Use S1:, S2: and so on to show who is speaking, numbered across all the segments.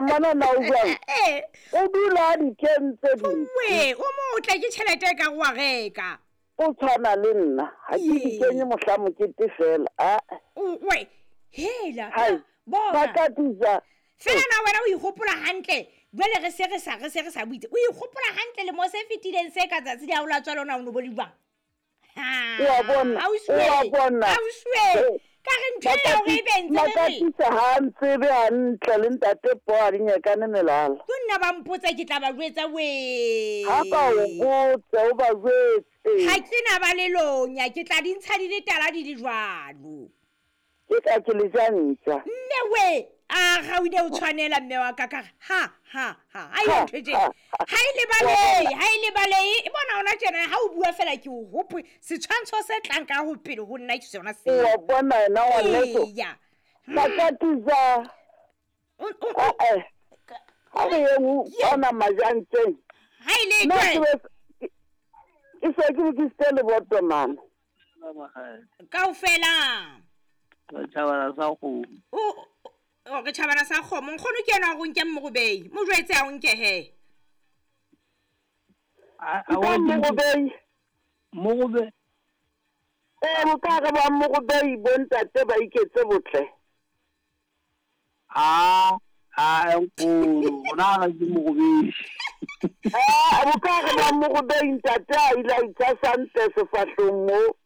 S1: Mmona na o jwang?
S2: Ee.
S1: O dula a di kentse dintshi.
S2: We, o motle ke tšhelete e ka go wa reka.
S1: O tshwana le nna, ga ke di kenye mohla mokete fela. A.
S2: We, hela.
S1: Hai.
S2: Bona.
S1: Ba ka dija.
S2: Fela na wena o ikgopola hantle. Jwale re se re sa re se re sa buitse. O ikgopola hantle le mo se fetileng se ka tsatsi la o la tswa lona o no bo le jwang?
S1: Wa bona, wa bona.
S2: Ausiwe, ka re ntho e ya hore e be ntse re re.
S1: Makatisa ha a ntsebe hantle le ntate Po a di nyakane melala.
S2: Ke nna ba mpotsa ke tla ba jwetsa wee.
S1: Ha ba o botse o ba jwetse.
S2: Ha ke na ba le lonya ke tla di ntsha di le tala di le jwalo.
S1: Ke ka ke le ja ntja.
S2: Mme we, a ga o ile o tshwanela mme wa ka ka ha ha ha. Ha e ntho tje. Ha e lebalehe, ha e lebalehe. E bona ona tjena ha o bua fela ke o hopoe setshwantsho se tlang ka ho pele ho nna ke sona seo.
S1: Wa bona ena ngwaneso.
S2: Eya.
S1: Makatisa. Eh. Ha re ye ho ona majantseng.
S2: Ha ile
S1: Nna ke se ke lokisitse leboto mama.
S2: Kaofela.
S3: Tjhabana sa kgomo.
S2: O re tjhabana sa kgomo. Nkgono ke yena wa go nke mmogobei. Mo jwetse a o nke he.
S3: A
S1: Nka
S3: wa
S1: mmogobei.
S3: Mogobe.
S1: Ee, bo ka re ba mmogobei bo ntate ba iketse botle.
S3: A a nkgono, ona ga ke mogobei.
S1: A bo ka re ba mmogobei ntate a ile a itshasa ntle sefahlong mo.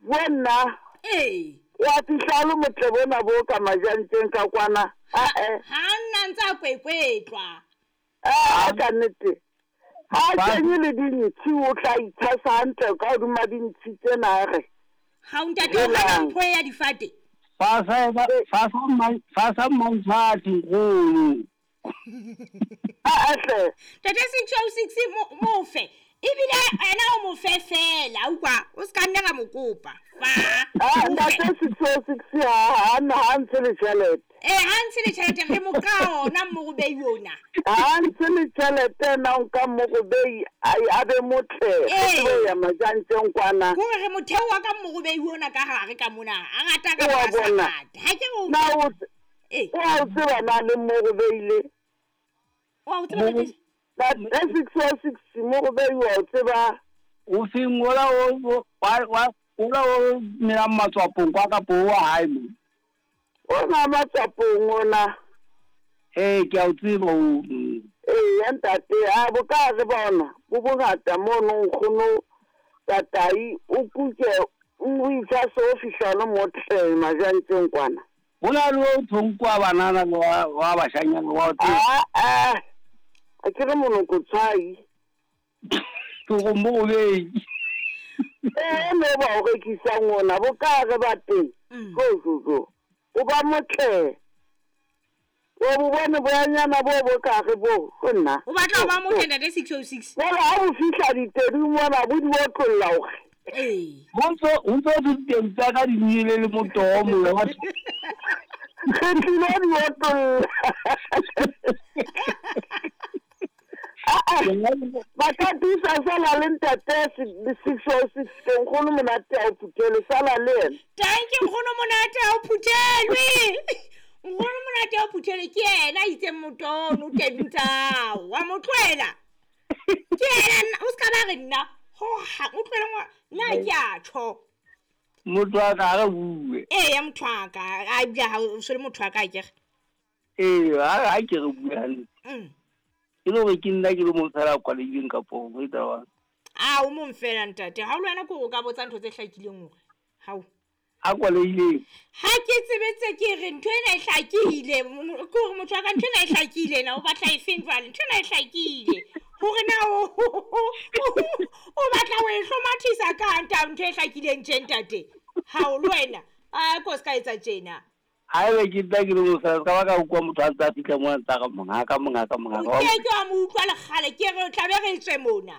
S1: Wena.
S2: Ee.
S1: Wa fihla le motle bona bo ka majantseng ka kwana. A-e.
S2: Ha nna ntse a kwekwetlwa.
S1: A ka nnete. Ha kenye le dintshi o tla itshasa hantle ka hodima dintshi tsena a re.
S2: Ha o ntate o hana mpho ya difate.
S3: Fa sa mantshati nkgono.
S1: A hle.
S2: Tate 606 mo fe. Ebile ena o mo fe fela, utlwa, o ska nna ka mo kopa. Fa.
S1: Ah, ntate 606 ha ha ha ntse le tjhelete.
S2: Eh, ha ntse le tjhelete re mo ka ona mogobei ona.
S1: Ha ntse le tjhelete na o ka mogobei a be motle.
S2: Ee.
S1: Ya majantseng kwana.
S2: Kore re motheo wa ka mogobei ona ka hare ka mona. A rata ka
S1: Wa
S2: ba sa
S1: bona.
S2: rate. Ha ke re o
S1: Na o
S2: Eh.
S1: o tseba na le mogobei le.
S2: Wa o tseba ntate?
S1: Ntate 606 mogobei wa o tseba.
S3: O feng ola o wa ola o melang matswapong kwa kapo wa hae mo.
S1: O na matswapong ona.
S3: Eh, ke a o tseba o.
S1: Ee, ntate, a bo ka re bona bo bongata mono nkgono tatai o kuke o itshase o fihla le motle majantseng kwana.
S3: Ho na le o thonkwa banana le wa bashanyana wa o tseba.
S1: A a ke re monoko tshwai.
S3: Ke go mogobei.
S1: Ee, mo ba o rekisang ona bo ka re ba teng. Go go go. O ba motle. O bo bone boyanyana bo bo ka re bo go nna.
S2: O batla ho ba motle ntate 606.
S1: Jwale ha o fihla ditedung mona bo di otlolla hore.
S2: Ee.
S3: Ho ntso diteng tsa ka di nyele le motoho moya wa.
S1: Re tlilo di otlolla. Ba ka thusa sala le ntate 606 nkgono monate a o phuthele sala le yena.
S2: Thank you nkgono monate a o phuthelwe. Nkgono monate a o phuthele ke yena a itseng motono teng tsao. Wa mo tlohela. Ke yena o ska ba re nna ho ha o tlohele ngwa nna ke a tjho.
S3: Motho wa ka re bue.
S2: Ee, motho wa ka a bja ha o se le motho wa ka ke re.
S3: Ee, ha ke re bue hantle. Ke le hore ke nna ke le mong fela kwalehileng kapo ho etsa jwang?
S2: A o mong fela ntate. Ha o le wena ke hore o ka botsa ntho tse hlakileng hore. Hao.
S3: A kwalehileng.
S2: Ha ke tsebe tse ke re ntho ena e hlakile. Ke hore motho wa ka ntho ena e hlakile na o batla e feng jwale? Ntho ena e hlakile. Hore na o batla ho e hlomathisa ka nta ntho e hlakileng tje ntate. Ha o le wena. A ko ska etsa tjena.
S3: Haebe ke nna ke le mong fela, ska ba ka utlwa motho a ntse a fihla moo a ntse a re mongaka, mongaka, mongaka.
S2: O ke ke wa mo utlwa lekgale, ke re o tla be re tswe mona.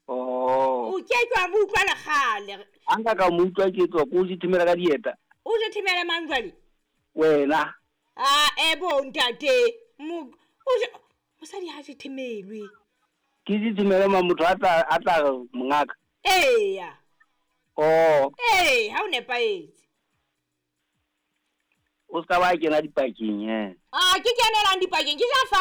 S3: Oh.
S2: O ke ke wa mo utlwa lekgale.
S3: Ha nka ka mo utlwa ke tswa, ko o jethemela ka dieta.
S2: O jethemela mang jwale?
S3: Wena.
S2: A ebo ntate. Mosadi ha jethemelwe.
S3: Ke jethemela mang motho a tla re mongaka?
S2: Eya.
S3: Oh.
S2: Ee, ha o nepahetse.
S3: O ska ba kena dipakeng, eh.
S2: Ah, ke kenelang dipakeng, ke ja fa.